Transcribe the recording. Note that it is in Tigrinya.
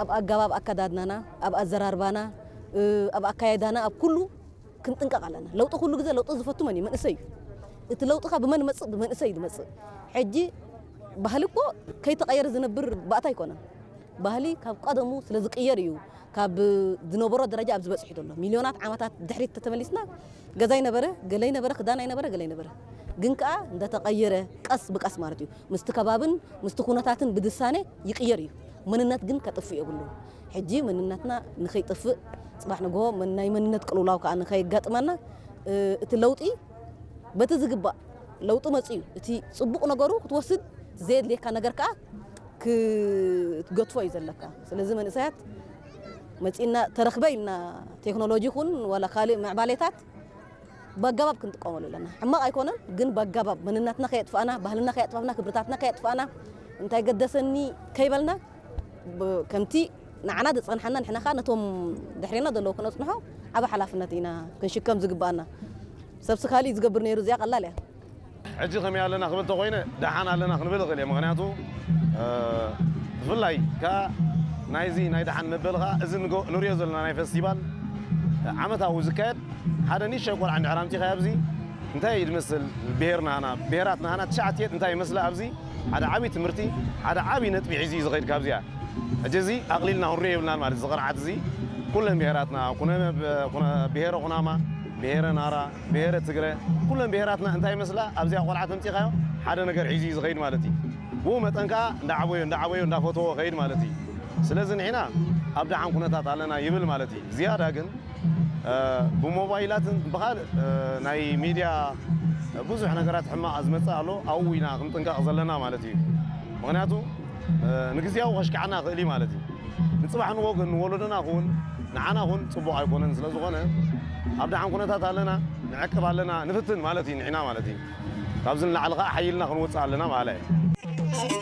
ኣብ ኣገባብ ኣከዳድናና፣ ኣብ ኣዘራርባና፣ ኣብ ኣካያይዳና፣ ኣብ ኩሉ ክንጥንቀቕ ኣለና። ለውጢ ኩሉ ግዜ ለውጢ ዝፈቱ መን እዩ? መንእሰይ እዩ። እቲ ለውጢ ከ ብመን ይመጽእ? ብመንእሰይ እዩ ዝመጽእ። ሕጂ ባህሊ እኮ ከይተቐየረ ዝነብር ባእታ ኣይኮነን። ባህሊ ካብ ቀደሙ ስለ ዝቅየር እዩ ካብ ዝነበሮ ደረጃ ኣብዚ በጺሑ ዘሎ። ሚልዮናት ዓመታት ድሕሪት ተተመሊስና ገዛይ ነበረ፣ ገለይ ነበረ፣ ክዳን ኣይነበረ፣ ገለይ ነበረ። ግን ከኣ እንዳተቐየረ ቀስ ብቀስ ማለት እዩ። ምስቲ ከባብን ምስቲ ኩነታትን ብድሳኔ ይቅየር እዩ። መንነት ግን ከጥፍእ የብሉ። ሕጂ መንነትና ንኸይጠፍእ፣ ጽባሕ ንግሆ መን-፣ ናይ መንነት ቅልውላው ከኣ ንኸየጋጥመና፣ እ፣ እቲ ለውጢ በቲ ዝግባእ ለውጢ መጽኡ እዩ። እቲ ጽቡቕ ነገሩ ክትወስድ፣ ዘየድልየካ ነገር ከኣ ክትገድፎ እዩ ዘለካ። ስለዚ መንእሰያት መጺእና ተረኽበ ኢልና ቴክኖሎጂ ይኹን ዋላ ካልእ ምዕባሌታት ብኣገባብ ክንጥቀመሉ ኣለና። ሕማቕ ኣይኮነን፣ ግን ብኣገባብ መንነትና ከየጥፋእና፣ ባህልና ከየጥፋእና፣ ክብርታትና ከየጥፋእና፣ እንታይ ገደሰኒ ከይበልና፣ ብ-፣ ከምቲ ንዓና ዝጸንሓና ንሕና ኸኣ ነቶም ድሕሬና ዘለዉ ክነጽንሖ ዓቢ ሓላፍነት ኢና ክንሽከም ዝግባኣና። ሰብሲ ካሊእ ዝገብር ነይሩ፣ እዚኣ ቀላል እያ። ሕጂ ከመይ ኣለና ክብል ተኾይነ፣ ደሓን ኣለና ክንብል እኽእል እየ። ምኽንያቱ፣ እ፣ ብፍላይ ከኣ ናይዚ ናይ ደሓን መበል ኸኣ እዚ ንጎ-፣ ንሪኦ ዘለና ናይ ፈስቲቫል ዓመታዊ ዝካየድ ሓደ ንእሽተይ ቆልዓ እንድሕር ኣምጺኻዮ ኣብዚ እንታይ እዩ ዝመስል ብሄርና ሃና፣ ብሄራትና ሃና ትሽዓተ እንታይ ይመስላ ኣብዚ ሓደ ዓቢ ትምህርቲ፣ ሓደ ዓቢ ነጥቢ ሒዙ እዩ ዝኸይድ ካብዚኣ። ሕጂ እዚ ኣቕሊልና ክንሪኦ የብልናን ማለት እዚ ቅርዓት እዚ ኩለን ብሄራትና፣ ኩነ፣ ኩነ ብሄረ ኩናማ፣ ብሄረ ናራ፣ ብሄረ ትግረ፣ ኩለን ብሄራትና እንታይ ይመስላ ኣብዚኣ ቆልዓ ተምጺኻዮ ሓደ ነገር ሒዙ እዩ ዝኸይድ ማለት እዩ። ብኡ መጠን ከኣ እንዳዓበዮ፣ እንዳዓበዮ፣ እንዳፈተዎ ኸይድ ማለት እዩ። ስለዚ ንሕና ኣብ ደሓን ኩነታት ኣለና ይብል ማለት እዩ። ዝያዳ ግን፣ እ፣ ብሞባይላትን ብኻልእ፣ እ፣ ናይ ሚድያ ብዙሕ ነገራት ሕማቕ ዝመጽእ ኣሎ። ኣብኡ ኢና ክንጥንቀቕ ዘለና ማለት እዩ። ምኽንያቱ፣ እ፣ ንግዝያዊ ከሽክዓና ይኽእል እዩ ማለት እዩ። ንጽባሕ ንጎ ግን ንወለዶና ኹን ንዓና ኹን ጽቡቕ ኣይኮነን። ስለ ዝኾነ ኣብ ደሓን ኩነታት ኣለና፣ ንዕቅብ ኣለና፣ ንፍትን ማለት እዩ ንሕና ማለት እዩ። ካብዚ ንላዕሊ ኸኣ ሓይልና ክንወጽእ ኣለና ማለት እዩ።